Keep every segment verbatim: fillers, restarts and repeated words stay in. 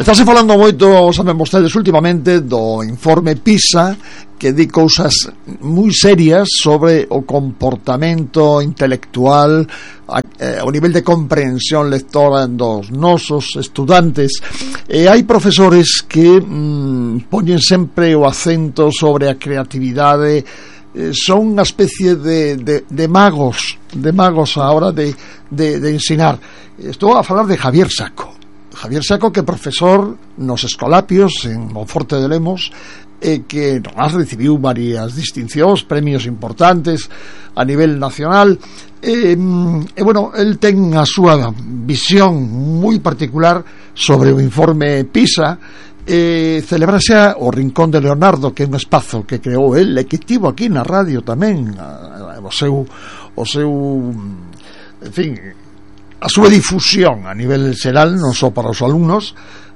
Estáse falando moito, saben vostedes, últimamente do informe PISA, que di cousas moi serias sobre o comportamento intelectual, o nivel de comprensión lectora dos nosos estudantes, e hai profesores que mm, poñen sempre o acento sobre a creatividade. eh, son unha especie de, de, de magos de magos a hora de, de, de ensinar. Estou a falar de Javier Saco. Javier Saco, que é profesor nos Escolapios en Monforte de Lemos, e que has recibiu varias distincións, premios importantes a nivel nacional, e, e bueno, el ten a súa visión moi particular sobre o informe PISA. E celebrase o Rincón de Leonardo, que é un espazo que creou el, e que tivo aquí na radio tamén o seu o seu en fin, a súa difusión a nivel xeral, non só para os alumnos.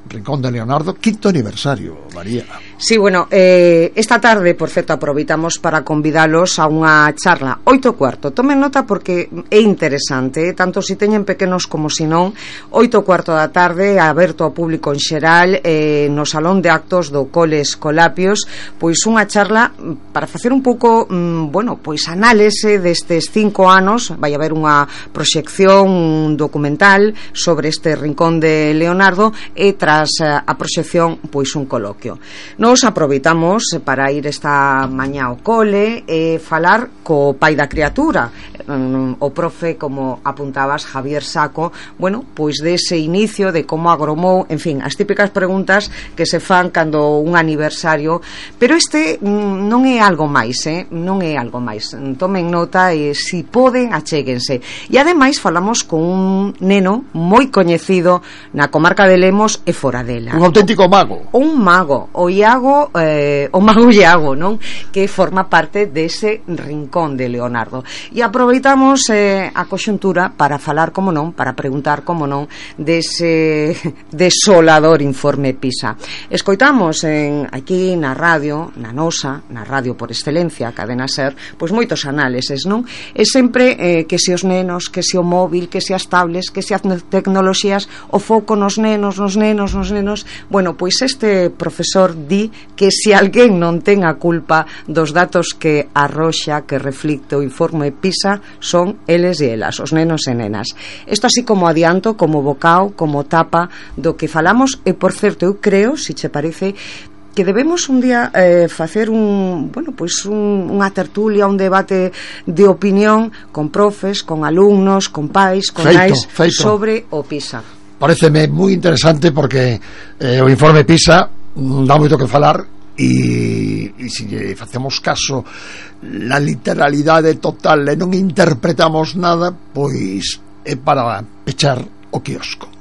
Rincón de Leonardo, quinto aniversario, María. Sí, bueno, eh, esta tarde, por certo, aproveitamos para convidalos a unha charla oito cuarto. Tomen nota porque é interesante, eh? Tanto se teñen pequenos como se non. Oito cuarto da tarde, aberto ao público en xeral, eh, no Salón de Actos do Cole Escolapios, pois unha charla para facer un pouco, mm, bueno, pois análise destes cinco anos. Vai haber unha proxección, un documental sobre este Rincón de Leonardo, e tras a proxección, pois un coloquio. Nos aproveitamos para ir esta mañá ao cole e falar co pai da criatura, o profe, como apuntabas, Javier Saco, bueno, pois dese inicio, de como agromou, en fin, as típicas preguntas que se fan cando un aniversario, pero este non é algo máis, eh? non é algo máis. Tomen nota e, se poden, achéguense. E ademais falamos con un neno moi coñecido na comarca de Lemos e fora dela. Un auténtico mago. Un mago, o Iago, eh, o mago Iago, non? Que forma parte dese Rincón de Leonardo. E aproveitamos eh, a conxuntura para falar, como non, para preguntar, como non, dese desolador informe PISA. Escoitamos en, aquí na radio, na nosa, na radio por excelencia, Cadena Ser, pois moitos análises, non? E sempre eh, que se os nenos, que se o móvil, que se as tablets, que se as tecnoloxías, o foco nos nenos, nos nenos, nos nenos. Bueno, pois este profesor di que se alguén non ten a culpa dos datos que arroxa, que reflicte o informe PISA, son eles e elas, os nenos e nenas. Isto así como adianto, como bocao, como tapa do que falamos. E por certo, eu creo, se che parece, que debemos un día eh, facer un, bueno, pois un, unha tertulia, un debate de opinión con profes, con alumnos, con pais, con nais, sobre o PISA. Pareceme moi interesante porque eh, o informe PISA dá moito que falar, e, e se lle facemos caso la literalidade total e non interpretamos nada, pois é para pechar o quiosco.